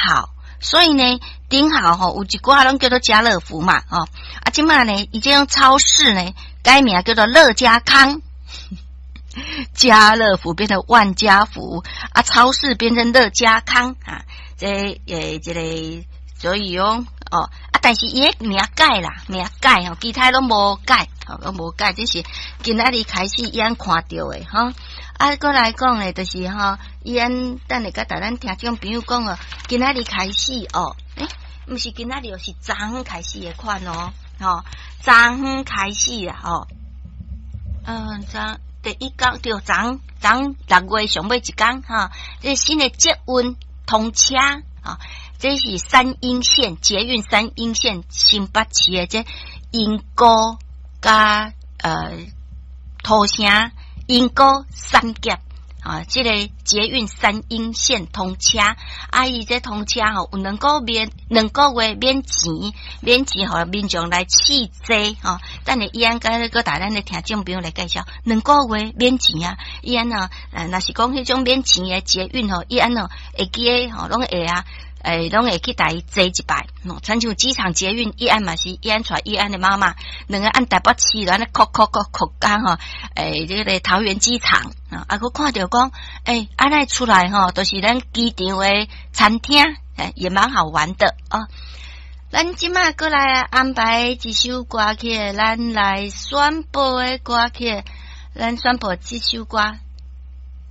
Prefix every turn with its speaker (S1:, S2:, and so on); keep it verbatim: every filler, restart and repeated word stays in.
S1: 號。所以呢，頂號吼有一寡攏叫做家樂福嘛，吼啊，這馬呢，伊這種超市呢，改名叫做樂家康，家樂福變成萬家福，啊，超市變成樂家康啊，這誒這個所以哦，哦啊，但是伊个名改啦，名改吼，其他攏無改，吼攏無改，這是今仔日開始伊按看著的吼。啊，閣來講咧，就是吼，伊按等下佮逐咱聽眾朋友講哦，今仔日開始哦，欸，毋是今仔日哦，是昨昏開始的款哦，吼，昨昏開始啊，吼，嗯，昨第一工對，昨昨六月上尾一工哈，這新的捷運通車，吼，這是三鶯線捷運三鶯線新北市的這鶯歌佮呃土城。鶯歌三峽啊，這個捷運三鶯線通車，啊，伊這通車吼有兩個月，兩個月免錢，免錢予民眾來試坐吼。等下伊按閣閣帶咱的聽眾朋友來介紹，兩個月免錢啊！伊按哦，呃，若是講彼種免錢的捷運吼，伊按哦會記得吼，攏會啊。欸，攏會去共伊坐一擺，親像機場捷運，伊按嘛是伊按帶伊按的媽媽，兩个按台北市按呢哭哭哭哭工吼，欸，這個桃園機場啊，啊，閣看著講，欸，按呢出來吼，都是咱機場的餐廳，欸，也蠻好玩的哦。咱這馬閣來安排一首歌曲，咱來宣布的歌曲，咱宣布這首歌。